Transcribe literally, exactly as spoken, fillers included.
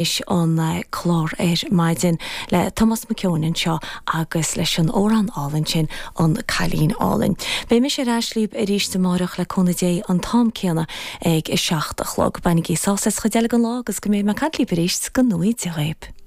Is an clár ar maidin le Tomás Mac Eoin anseo agus leis an amhrán álainn sin an Cailín Álainn. Beidh mise ar ais libh arís amárach le cúnamh Dé an t-am céanna ag a seacht a chlog. Bainigí sásamh as an chuid eile den lá agus go mbeidh mé ag caint libh arís go luath. Dia dhaoibh.